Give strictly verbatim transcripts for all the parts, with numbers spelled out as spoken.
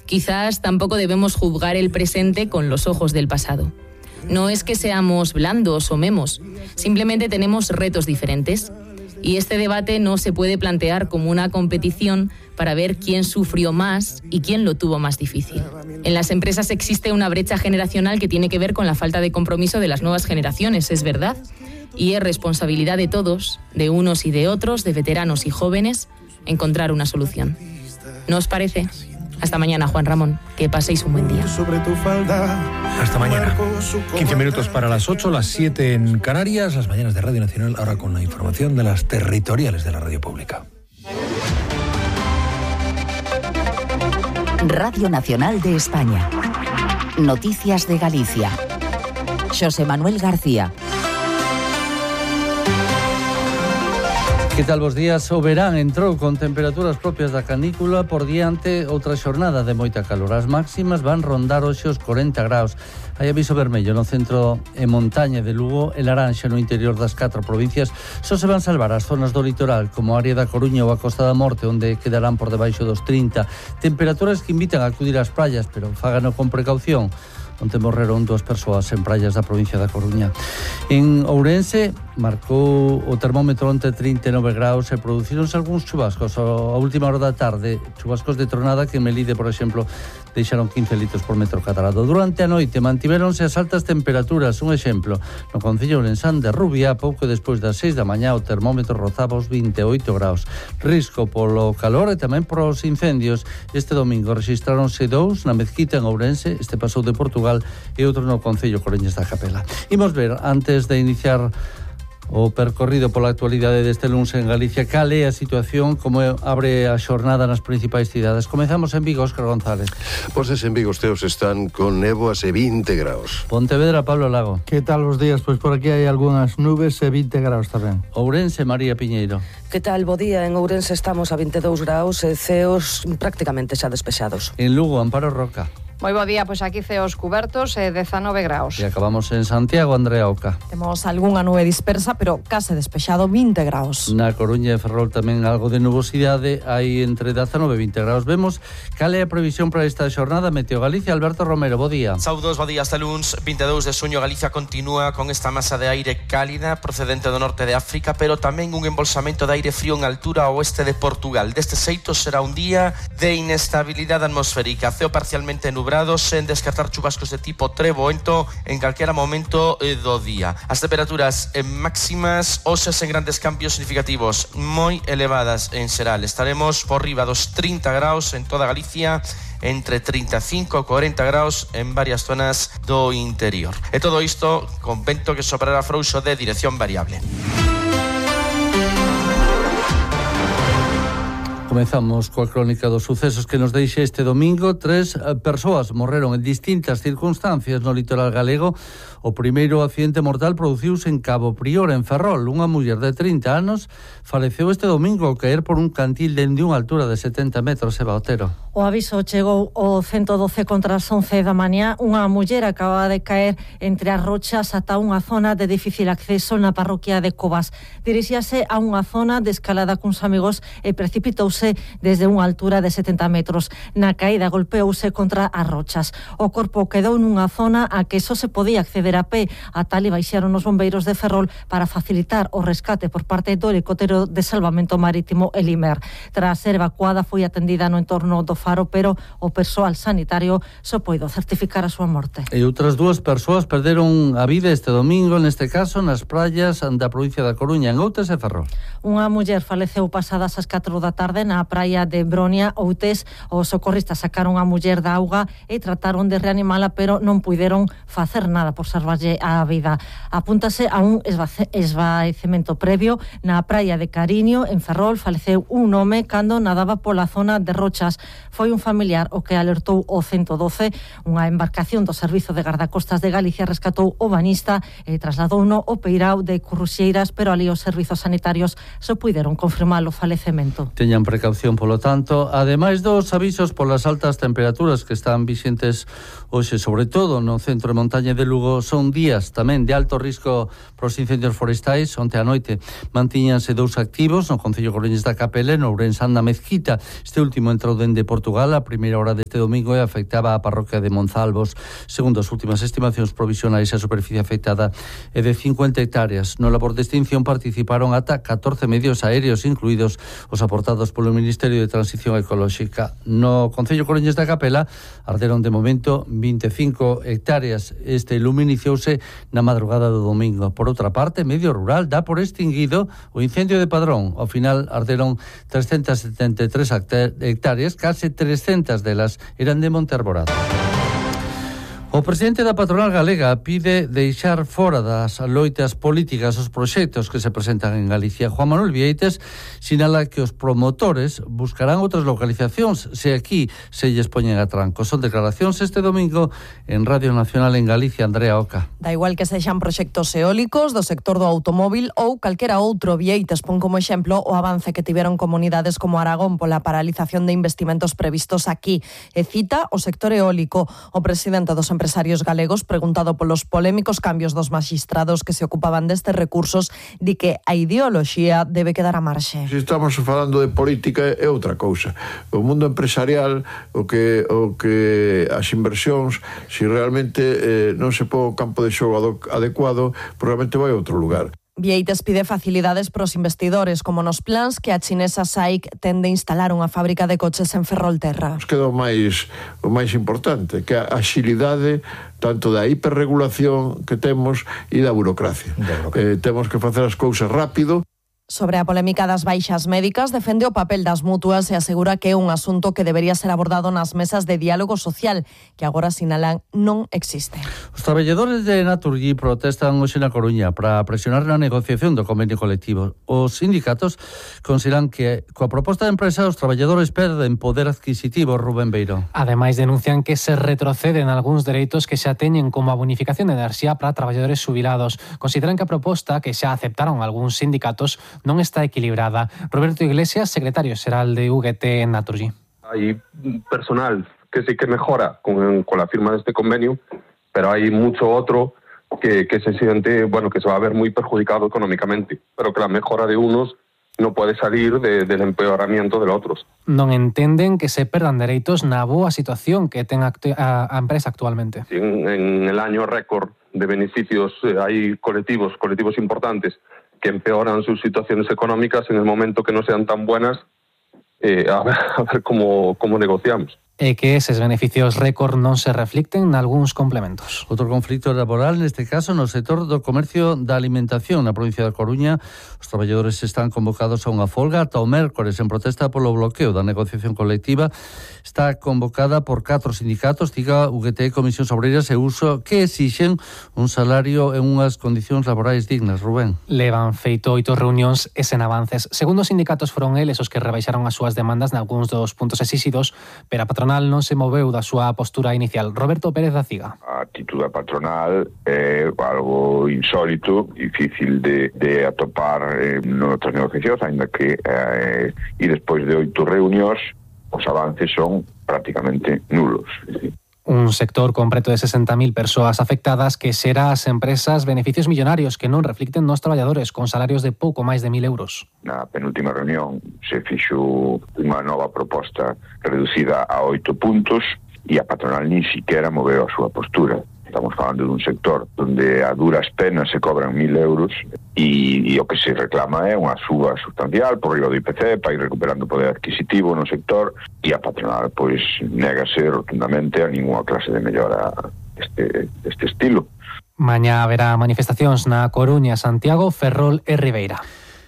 Quizás tampoco debemos juzgar el presente con los ojos del pasado. No es que seamos blandos o memos, simplemente tenemos retos diferentes. Y este debate no se puede plantear como una competición para ver quién sufrió más y quién lo tuvo más difícil. En las empresas existe una brecha generacional que tiene que ver con la falta de compromiso de las nuevas generaciones, es verdad. Y es responsabilidad de todos, de unos y de otros, de veteranos y jóvenes, encontrar una solución. ¿No os parece? Hasta mañana, Juan Ramón. Que paséis un buen día. Hasta mañana. quince minutos para las ocho, las siete en Canarias, las mañanas de Radio Nacional, ahora con la información de las territoriales de la radio pública. Radio Nacional de España. Noticias de Galicia. Xosé Manuel García. Que tal vos días? O verán entrou con temperaturas propias da canícula por diante outra xornada de moita calor. As máximas van rondar hoxe os corenta graus. Hai aviso vermello no centro e montaña de Lugo e laranxa no interior das catro provincias. Só se van salvar as zonas do litoral, como a área da Coruña ou a Costa da Morte, onde quedarán por debaixo dos trinta. Temperaturas que invitan a acudir ás praias, pero fágano con precaución. Onte morreron dúas persoas en praias da provincia da Coruña. En Ourense marcou o termómetro onte trinta e nove graus e producironse algúns chubascos a última hora da tarde, chubascos de tronada que en Melide, por exemplo, deixaron quince litros por metro cadrado. Durante a noite mantiveronse as altas temperaturas. Un exemplo, no concello ourensán de Rubia, pouco despois das seis da mañá o termómetro rozaba os vinte e oito graus. Risco polo calor e tamén por os incendios. Este domingo rexistráronse dous na Mezquita en Ourense, este pasou de Portugal, e outro no concello Coreñas da Capela. Imos ver, antes de iniciar o percorrido pola actualidade deste luns en Galicia, cal é a situación, como abre a xornada nas principais cidades. Comezamos en Vigo, Óscar González. Pois en Vigo os teos están con néboas e vinte graus. Pontevedra, Pablo Lago. Que tal os días? Pois por aquí hai algunhas nubes e vinte graus tamén. Ourense, María Piñeiro. Que tal, bo día? En Ourense estamos a vinte e dous graus e ceos prácticamente xa despexados. En Lugo, Amparo Roca. Moi bo día, pois aquí ceos cubertos e dezanove graus. E acabamos en Santiago, Andrea Oca. Temos algunha nube dispersa, pero case despexado, vinte graus. Na Coruña e Ferrol tamén algo de nubosidade, hai entre dezanove e vinte graus. Vemos cal é a previsión para esta xornada. Meteo Galicia, Alberto Romero, bo día. Saudos, bo día, hasta luns, vinte e dous de xuño. Galicia continúa con esta masa de aire cálida procedente do norte de África, pero tamén un embolsamento de aire frío en altura ao oeste de Portugal. Deste xeito será un día de inestabilidade atmosférica, ceo parcialmente nublado, sen descartar chubascos de tipo treboento en calquera momento eh, do día. As temperaturas eh, máximas hoxe sen grandes cambios significativos, moi elevadas en xeral. Estaremos por riba dos trinta graus en toda Galicia, entre trinta e cinco e cuarenta graus en varias zonas do interior. E todo isto con vento que soprará frouxo de dirección variable. Comezamos coa crónica dos sucesos que nos deixa este domingo. Tres persoas morreron en distintas circunstancias no litoral galego. O primeiro accidente mortal produciuse en Cabo Prior, en Ferrol. Unha muller de trinta anos faleceu este domingo ao caer por un cantil dende unha altura de setenta metros. Eva Otero. O aviso chegou ao ciento doce contra as once da mañá. Unha muller acaba de caer entre as rochas ata unha zona de difícil acceso na parroquia de Covas. Dirixíase a unha zona de escalada cuns amigos e precipitouse desde unha altura de setenta metros. Na caída golpeouse contra as rochas. O corpo quedou nunha zona a que só se podía acceder a pé. A tal e baixaron os bombeiros de Ferrol para facilitar o rescate por parte do helicóptero de salvamento marítimo Elimer. Tras ser evacuada foi atendida no entorno do Faro, pero o persoal sanitario só poido certificar a súa morte. E outras dúas persoas perderon a vida este domingo, neste caso nas praias da provincia da Coruña, en Outes e Ferrol. Unha muller faleceu pasadas as catro da tarde na praia de Bronia, Outes. Os socorristas sacaron a muller da auga e trataron de reanimala, pero non puideron facer nada por salvarlle a vida. Apúntase a un esvaecemento previo na praia de Cariño, en Ferrol. Faleceu un home cando nadaba pola zona de rochas. Foi un familiar o que alertou o ciento doce. Unha embarcación do Servizo de Gardacostas de Galicia rescatou o banista e trasladouno ao peirao de Curruxeiras, pero ali os servizos sanitarios só puideron confirmar o falecemento. Teñan precaución, polo tanto, ademais dos avisos polas altas temperaturas que están vixentes hoxe, sobre todo no centro de montaña de Lugo, son días tamén de alto risco pros incendios forestais. Onte a noite mantíñanse dous activos no concello Coruñés da Capela e no Ourensán da Mezquita. Este último entrou dende Portugal a primeira hora deste domingo e afectaba a parroquia de Monzalvos. Segundo as últimas estimacións provisionais, a superficie afectada é de cincuenta hectáreas. No labor de extinción participaron ata catorce medios aéreos, incluídos os aportados polo Ministerio de Transición Ecolóxica. No concello Coruñés da Capela arderon de momento vinte e cinco hectáreas. Este lume iniciouse na madrugada do domingo. Por outra parte, Medio Rural dá por extinguido o incendio de Padrón. Ao final arderon trescentas setenta e tres hectáreas, case trescentas delas eran de Monte Arborado. O presidente da patronal galega pide deixar fora das loitas políticas os proxectos que se presentan en Galicia. Juan Manuel Vieites sinala que os promotores buscarán outras localizacións se aquí se lles poñen a tranco. Son declaracións este domingo en Radio Nacional en Galicia. Andrea Oca. Da igual que sexan proxectos eólicos do sector do automóvil ou calquera outro. Vieites pon como exemplo o avance que tiveron comunidades como Aragón pola paralización de investimentos previstos aquí. E cita o sector eólico. O presidente dos empresarios empresarios galegos, preguntado polos polémicos cambios dos maxistrados que se ocupaban destes recursos, di que a ideoloxía debe quedar a marxe. Se estamos falando de política é outra cousa. O mundo empresarial, o que o que as inversións, se realmente eh, non se pon o campo de xogo adecuado, probablemente vai a outro lugar. Vieites pide facilidades pros investidores, como nos plans que a chinesa S A I C ten de instalar unha fábrica de coches en Ferrolterra. Nos queda o máis, o máis importante, que a axilidade tanto da hiperregulación que temos e da burocracia. Eh, temos que facer as cousas rápido. Sobre a polémica das baixas médicas, defende o papel das mutuas e asegura que é un asunto que debería ser abordado nas mesas de diálogo social, que agora sinalan non existe. Os traballadores de Naturgy protestan hoxe na Coruña para presionar na negociación do convenio colectivo. Os sindicatos consideran que coa proposta de empresa os traballadores perden poder adquisitivo. Rubén Beiro. Ademais, denuncian que se retroceden algúns dereitos que xa teñen, como a bonificación de enerxía para traballadores xubilados. Consideran que a proposta que xa aceptaron algúns sindicatos non está equilibrada. Roberto Iglesias, secretario xeral de U G T en Naturgy. Hay personal que sí que mejora con, con la firma de este convenio, pero hay mucho otro que, que se siente, bueno, que se va a ver muy perjudicado económicamente, pero que la mejora de unos no puede salir de, del empeoramiento de los otros. Non entenden que se perdan dereitos na boa situación que ten a, a empresa actualmente. En, en el año récord de beneficios eh, hay colectivos, colectivos importantes que empeoran sus situaciones económicas en el momento que no sean tan buenas, eh, a ver, a ver cómo, cómo negociamos. E que eses beneficios récord non se reflicten nalgúns complementos. Outro conflito laboral, neste caso, no sector do comercio da alimentación na provincia da Coruña. Os traballadores están convocados a unha folga ata o mércores en protesta polo bloqueo da negociación colectiva. Está convocada por catro sindicatos, diga U G T, Comisións Obreiras e Uso, que exixen un salario e unhas condicións laborais dignas. Rubén. Levan feito oito reunións e sen avances. Segundo os sindicatos, foron eles os que rebaixaron as súas demandas nalgúns dos puntos exixidos, pero a patronal non se moveu da súa postura inicial. Roberto Pérez da Ciga. A actitude patronal é algo insólito, difícil de, de atopar eh, noutras negociacións, ainda que eh, e despois de oito reunións os avances son prácticamente nulos. Un sector con preto de sesenta mil persoas afectadas que xera ás empresas beneficios millonarios que non reflicten nos traballadores con salarios de pouco máis de mil euros. Na penúltima reunión se fixo unha nova proposta reducida a oito puntos e a patronal nin siquiera moveu a súa postura. Estamos falando dun sector onde a duras penas se cobran mil euros e, e o que se reclama é unha suba sustancial por riba do I P C para ir recuperando poder adquisitivo no sector e a patronal pois négase rotundamente a ninguna clase de mellora deste, deste estilo. Mañá haberá manifestacións na Coruña, Santiago, Ferrol e Ribeira.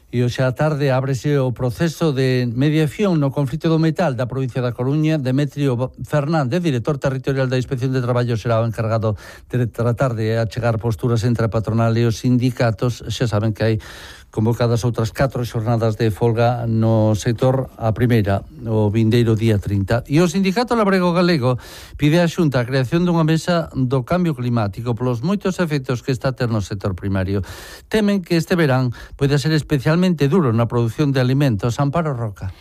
E hoxe á tarde ábrese o proceso de mediación no conflito do metal da provincia da Coruña. Demetrio Fernández, director territorial da Inspección de Traballo, será o encargado de tratar de achegar posturas entre a patronal e os sindicatos. Xa saben que hai convocadas outras catro xornadas de folga no sector, a primeira o vindeiro día trinta. E o Sindicato Labrego Galego pide á Xunta a creación dunha mesa do cambio climático polos moitos efectos que está a ter no sector primario. Temen que este verán pode ser especialmente duro na produción de alimentos. Amparo Roca.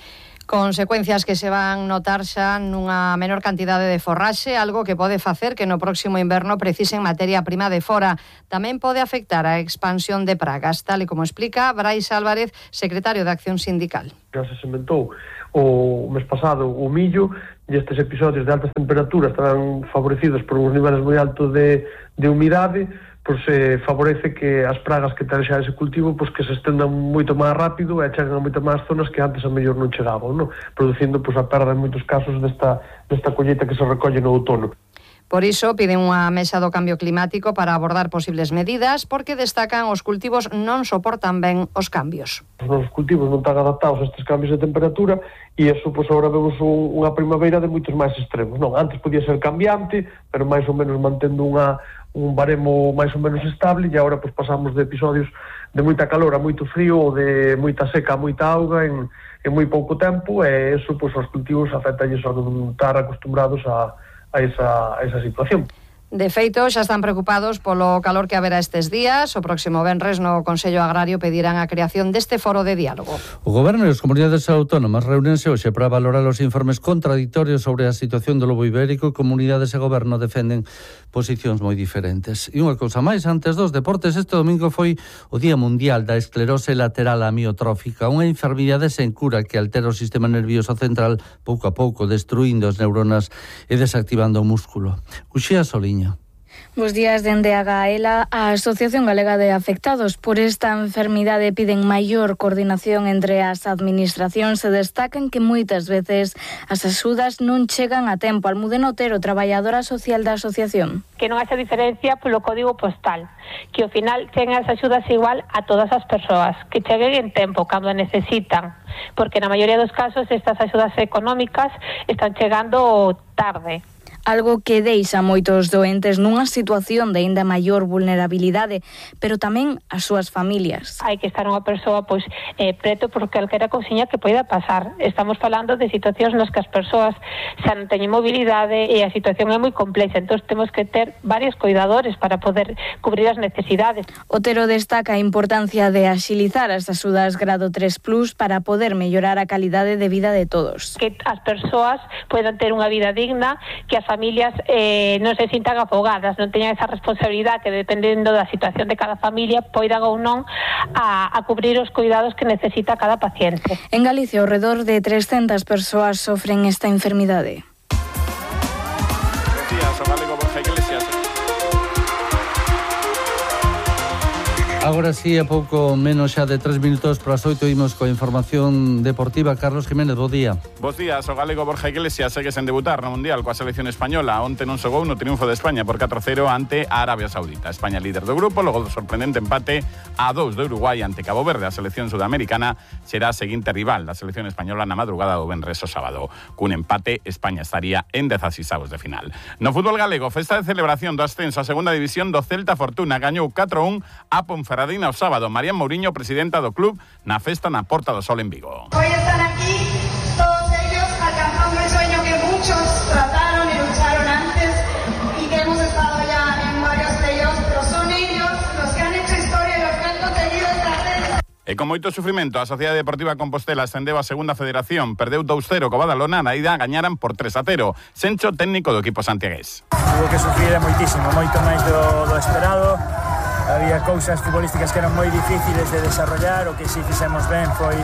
Consecuencias que se van notar xa nunha menor cantidade de forraxe, algo que pode facer que no próximo inverno precisen materia prima de fora. Tamén pode afectar a expansión de pragas, tal e como explica Brais Álvarez, secretario de Acción Sindical. Já se sementou o mes pasado o millo e estes episodios de altas temperaturas estarán favorecidos por uns niveles moi altos de, de humidade, pois se favorece que as pragas que ten xa ese cultivo pois que se estendan moito máis rápido e cheguen a moito máis zonas que antes a mellor non chegaban, non? Producindo pois a perda en moitos casos desta, desta colleita que se recolle no outono. Por iso piden unha mesa do cambio climático para abordar posibles medidas, porque destacan os cultivos non soportan ben os cambios. Os nosos cultivos non están adaptados a estes cambios de temperatura e iso, pois, agora vemos un, unha primavera de moitos máis extremos. Non, antes podía ser cambiante, pero máis ou menos mantendo unha, un baremo máis ou menos estable, e agora, pois, pasamos de episodios de moita calor a moito frío ou de moita seca a moita auga en, en moi pouco tempo, e iso, pois, aos cultivos afectalles a non estar acostumbrados a a esa, a esa situación. De feito, xa están preocupados polo calor que haberá estes días. O próximo venres no Consello Agrario pedirán a creación deste foro de diálogo. O Goberno e as comunidades autónomas reúnense hoxe para valorar os informes contraditorios sobre a situación do lobo ibérico. Comunidades e Goberno defenden posicións moi diferentes. E unha cousa máis, antes dos deportes, este domingo foi o Día Mundial da Esclerose Lateral Amiotrófica, unha enfermidade sen cura que altera o sistema nervioso central pouco a pouco, destruindo as neuronas e desactivando o músculo. Uxía Soliña. Bos días, dende a Gaela, a Asociación Galega de Afectados por esta enfermidade piden maior coordinación entre as administracións e destacan que moitas veces as axudas non chegan a tempo. Almudena Otero, traballadora social da asociación. Que non haxa diferencia polo código postal, que ao final cheguen as axudas igual a todas as persoas, que cheguen en tempo cando a necesitan, porque na maioría dos casos estas axudas económicas están chegando tarde. Algo que deixa moitos doentes nunha situación de aínda maior vulnerabilidade, pero tamén as súas familias. Hai que estar unha persoa pois eh, preto por calquera cousiña que poida pasar. Estamos falando de situacións nas que as persoas xa non teñen mobilidade e a situación é moi complexa, entón temos que ter varios cuidadores para poder cubrir as necesidades. Otero destaca a importancia de axilizar as axudas grado tres plus para poder mellorar a calidade de vida de todos. Que as persoas poidan ter unha vida digna, que as familias eh, non se sintan afogadas, non teñan esa responsabilidade que dependendo da situación de cada familia poidan ou non a, a cubrir os cuidados que necesita cada paciente. En Galicia, ao redor de trescentas persoas sofren esta enfermidade. Buenos días, o galego Borja Iglesias. Agora sí, a pouco menos xa de tres minutos para as oito imos coa información deportiva. Carlos Jiménez, bo día. Bos días, o galego Borja Iglesias segue sen debutar no Mundial coa selección española. Onte non xogou no triunfo de España por catro a cero ante a Arabia Saudita. España líder do grupo, logo do sorprendente empate a dous de Uruguai ante Cabo Verde. A selección sudamericana será a seguinte rival da selección española na madrugada do venres o sábado. Cun empate, España estaría en dezaseis avos de final. No fútbol galego, festa de celebración do ascenso a segunda división do Celta Fortuna. Gañou catro a un a Ponferradina o sábado. María Mourinho, presidenta do club, na festa na Porta do Sol en Vigo. Hoy están aquí todos ellos alcanzando el sueño que muchos trataron y lucharon antes y que hemos estado ya en varios de ellos, pero son ellos los que han hecho historia y los que han conseguido esta ascenso. E con moito sufrimento, a Sociedade Deportiva Compostela ascendeu a segunda federación, perdeu dous a cero co Badalona, na ida gañaran por tres a cero. Sencho, técnico do equipo santiagués. Hubo que sufrir moitísimo, moito máis do, do esperado. Había cousas futbolísticas que eran moi difíciles de desarrollar. O que si fixemos ben foi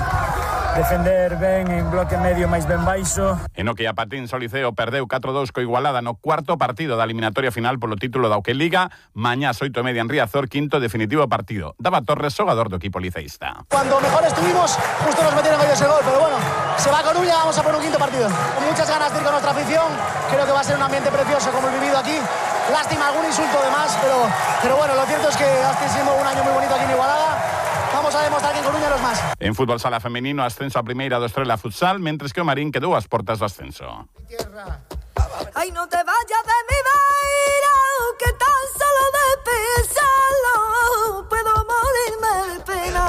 defender ben en bloque medio máis ben baixo. En o que a Patín Soliceo perdeu catro a dous co Igualada no cuarto partido da eliminatoria final polo título da Auqueliga. Mañá oito e media en Riazor, quinto definitivo partido. Dava Torres, xogador do equipo liceísta. Cuando mejor estuvimos, justo nos metieron hoy ese gol, pero bueno, se va a Coruña, vamos a por un quinto partido. Con muchas ganas de ir con nuestra afición, creo que va a ser un ambiente precioso como el vivido aquí. Lástima, algún insulto de más, pero, pero bueno, lo cierto es que ha sido un año muy bonito aquí en Igualada. Vamos a demostrar que en Coruña los más. En fútbol sala femenino, ascenso a primeira do Estrela Futsal, mentres que o Marín quedou ás portas do ascenso. Ay, no te vayas de mi vida, que tan solo de pensarlo puedo morirme de pena.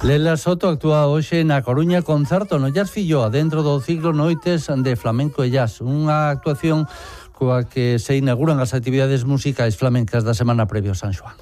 Lela Soto actúa hoxe na Coruña concerto no Jazz Filloa dentro do ciclo Noites de Flamenco e Jazz, unha actuación coa que se inauguran as actividades musicais flamencas da semana previa ao San Xoán.